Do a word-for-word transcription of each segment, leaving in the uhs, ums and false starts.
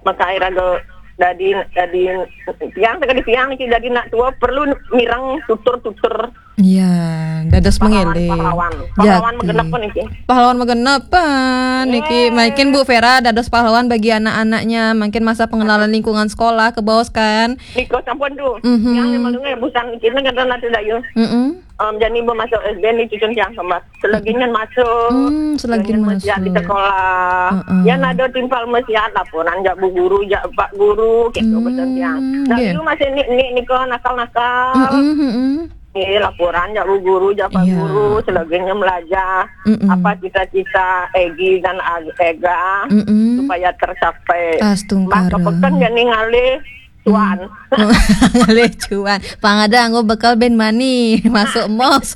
Maka iraga dadi, dadi tiang, teka di tiang niki dadi nak tua perlu mireng tutur-tutur. Iya, dados Pahlawan, mengeling. pahlawan. Pahlawan Jati. Magenepan niki. Pahlawan magenepan niki. Yeay. Mungkin Bu Vera dados pahlawan bagi anak-anaknya. Mungkin masa pengenalan lingkungan sekolah kebaos kan. Nika sampun tuh. Mhm. Yang memang dengar busan kita kata nanti dayu. Mm-mm. Em, jadi ibu masuk S D ni cucun tiang sama. Selagi nyen masuk. Hmm, selagi Selagi nyen masih masuk. di sekolah. Heeh. Yang ada timpal masih ada laporan jak bu guru, jak pak guru, gitu Hmm, pesan tiang. Nah, nggih. Dulu masih ni ni ni ke nakal-nakal. Mm-mm, mm-mm. Eh, laporan jak bu guru, jak pak Iya. guru, selagi nyen belajar. Mm-mm. Apa cita-cita Egi dan Ag- Ega Mm-mm. supaya tercapai. Astungkara. Maka pekan jadi ngalih cuan. Ngalih cuan. Pang ada anggo bekal ben mani masuk mos.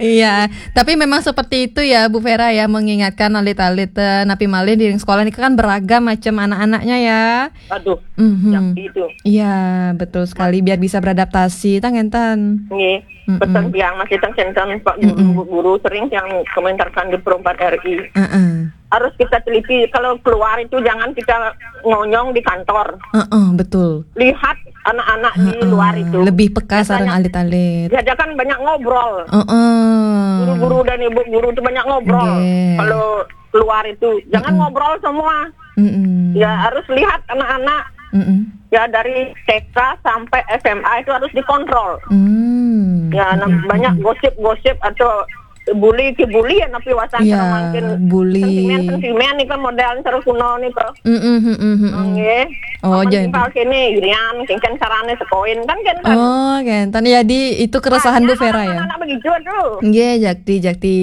Iya, tapi memang seperti itu ya Bu Vera ya, mengingatkan alit-alit, eh, napi malih di sekolah ini kan beragam macam anak-anaknya ya. Aduh, Mhm. yang itu. Iya, betul sekali, biar bisa beradaptasi tang enten. Nggih. Mm-mm. Pesan tiang masih tang senten Pak Guru, Bu Guru sering yang komentarkan di Pro empat R I. Heeh. Harus kita teliti kalau keluar itu jangan kita ngonyong di kantor. Heeh, betul. Lihat anak-anak di Heeh, luar itu. Lebih peka Biasanya- sareng alit-alit. Ya kan banyak ngobrol. Heeh. Guru-guru dan ibu guru itu banyak ngobrol. Nggih. Kalau keluar itu jangan Mm-mm. ngobrol semua. Mm-mm. Ya harus lihat anak-anak. Mm-mm. Ya dari T K sampai S M A itu harus dikontrol. Hmm. Ya nah, Mm-mm. banyak gosip-gosip atau bully ke bully ya napi wasan Iya, sareng mangkin bully. Sentimen-sentimen nih kan model sareng kuno nih kok. Mm-mm, mm-mm, mm-mm. Nggih. Oh, Amun jadi. Timpal kene irian, kengken sarane sekoin kan kan. Oh, kenten. Jadi itu keresahan Bu Vera ya. Anak begitu tuh. Nggih, jakti, jakti.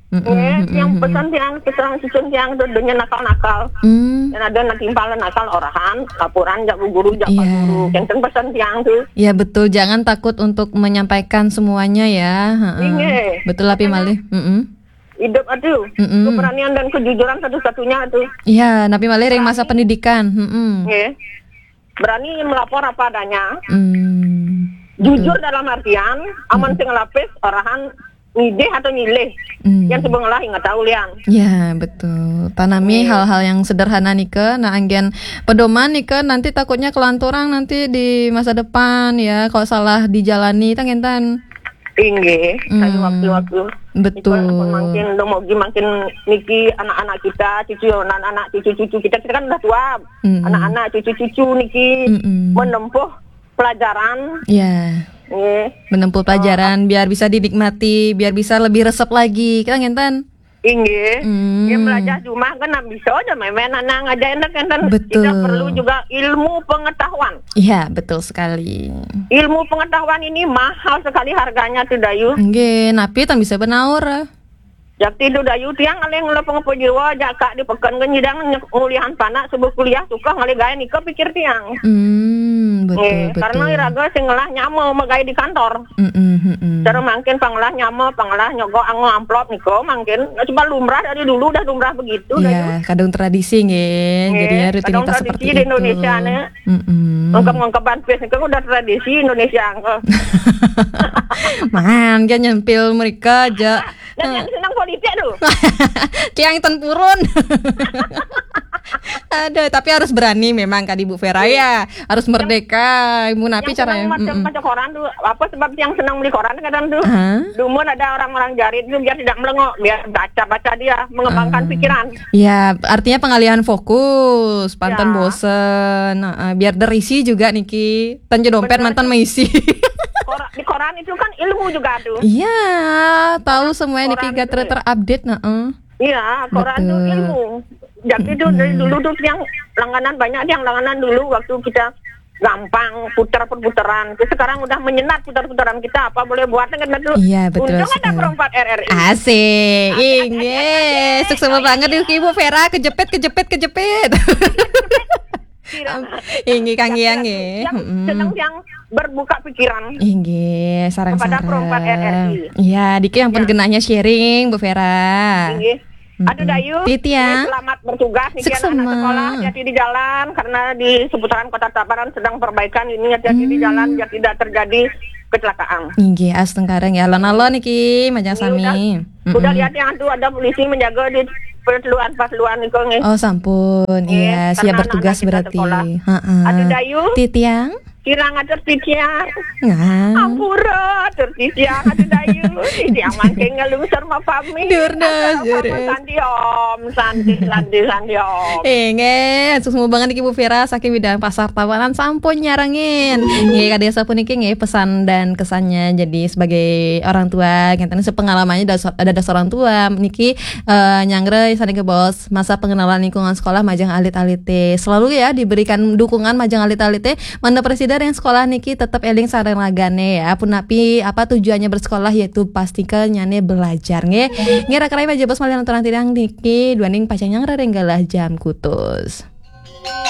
Mm-mm, Nggih, mm-mm, yang mm-mm. Pesan tiang pesan susun tiang tuh dunia nakal-nakal. Hmm. Dan ada nak timpal nakal orahan, laporan jak bu guru, jak pak Iya. guru. Kenten pesan tiang tuh. Ya betul, jangan takut untuk menyampaikan semuanya ya. Heeh. Nggih. Betul lah Pi malih. Mm-mm. Hidup aduh. Mm-mm. Keberanian dan kejujuran satu-satunya tuh. Iya, napi malih ring masa pendidikan. Mm-mm. Nggih. Berani melapor apa adanya. Hmm. Jujur dalam artian, amun sing ngelapis orahan ngidih atau nyilih. Hmm. Yang sebengelah ingat tahu liang. Ya, betul. Tanami Iya. Hal-hal yang sederhana nika, nah anggen pedoman nika nanti takutnya kelanturang nanti di masa depan ya, kalau salah dijalani tang enten. Inggih, Hmm. Waktu-waktu. Betul. Ipun mangkin, dong mogi mangkin niki anak-anak kita, cucu anak-anak, cucu-cucu kita, kita kan udah tua. Mm-mm. Anak-anak, cucu-cucu niki Mm-mm. menempuh pelajaran. Ya, Nggih. Menempuh pelajaran biar bisa dinikmati, biar bisa lebih resep lagi. Kita ngenten. Inggih. Hmm. Ya belajar di rumah kan nak bisa aja main-main anak aja enak kan. Betul. Kita perlu juga ilmu pengetahuan. Iya, betul sekali. Ilmu pengetahuan ini mahal sekali harganya tuh Dayu. Nggih, napi tang bisa benaur. Jakti tuh Dayu tiang ngalih ngelah pengepo jiwa jak kak di peken kan nyidang nyek- ngulihan panak subuh kuliah suka ngalih gaya nika pikir tiang. Hmm, betul Nggih, betul. Karena iraga sing ngelah nyama megai di kantor. Mm-mm, mm-mm. Cara mangkin pangelah nyama, pangelah nyogok anggo amplop niko mangkin. Nah, cuma lumrah dari dulu udah lumrah begitu Dayu. Ya, kadung tradisi nggih. Nggih, Jadinya kadung rutinitas tradisi seperti di itu. Indonesia nih. Mm-mm. Ngengkep-ngengkepan pis niko udah tradisi Indonesia engko. Man, dia nyempil mereka aja. Dan yang senang politik tuh. Kiang ten purun. Aduh, tapi harus berani memang kadi Bu Vera ya. Harus merdeka. Ibu napi Yang caranya? Senang macam Mm-mm. baca koran tuh, apa sebab yang senang beli koran kadang tuh. Hah? Dumun ada orang-orang jarit tuh biar tidak melengok, biar baca-baca dia, mengembangkan Ah. Pikiran. Ya, artinya pengalihan fokus, pantan Ya. Bosen, heeh, biar derisi juga niki. Tanja dompet Benar. Mantan meisi. Kor- di koran itu kan ilmu juga tuh. Iya, tahu semuanya niki Koran gak ter itu. terupdate, heeh. Iya, koran tuh Betul. Ilmu. Jadi itu dari dulu tuh yang langganan banyak yang langganan dulu waktu kita gampang putar perputaran. Terus sekarang udah menyenat putar-putaran kita apa boleh buat kan tuh. Iya, betul Untung ada sekali. Pro empat R R I. Asik, Asik, inggih. asik, asik. Sukses banget Ibu Vera, kejepit, kejepit, kejepit. Inggih Kang Yang nggih. Yang senang yang berbuka pikiran. Inggih, sarang-sarang. Kepada Pro empat R R I. Iya, diki yang pun genahnya sharing Bu Vera. Inggih. Aduh Dayu, Titi ya. Selamat bertugas nih Sukses, anak Ma. Sekolah, hati-hati di jalan karena di seputaran Kota Tabanan sedang perbaikan ini, hati-hati di jalan biar tidak terjadi kecelakaan. Inggih, astungkara nggih. Alon-alon niki majang Ini udah, sami. Udah lihat yang tuh ada polisi menjaga di perluan-perluan niku nggih. Oh sampun, Nggih, iya siap karena bertugas anak-anak kita berarti. sekolah. Heeh. Aduh, Dayu. Titiang. Kirang atur titiang. Nah. Ampura atur titiang, aduh, Dayu. Titiang mangke ngelungsur mapami. Durna, Ampura, durna. Sandi om, sandi, sandi, sandi om. Eh, nggih, sukses banget niki Bu Vera saking bidang pasar Tabanan sampun nyarengin. Nggih, kadya sapuniki nggih pesan dan kesannya jadi sebagai orang tua, ngeten sepengalamannya ada, ada orang tua niki eh, nyanggra saking bos masa pengenalan lingkungan sekolah majeng alit-alite. Selalu ya diberikan dukungan majeng alit-alite. Mangda presiden yang sekolah niki tetap eling sareng ragane ya. Punapi apa tujuannya bersekolah yaitu pasti ke nyane belajar nggih. Nggih, raka-raka majeng bos malih aturang titiang niki duaning pacang nyanggra ring galah jam kutus.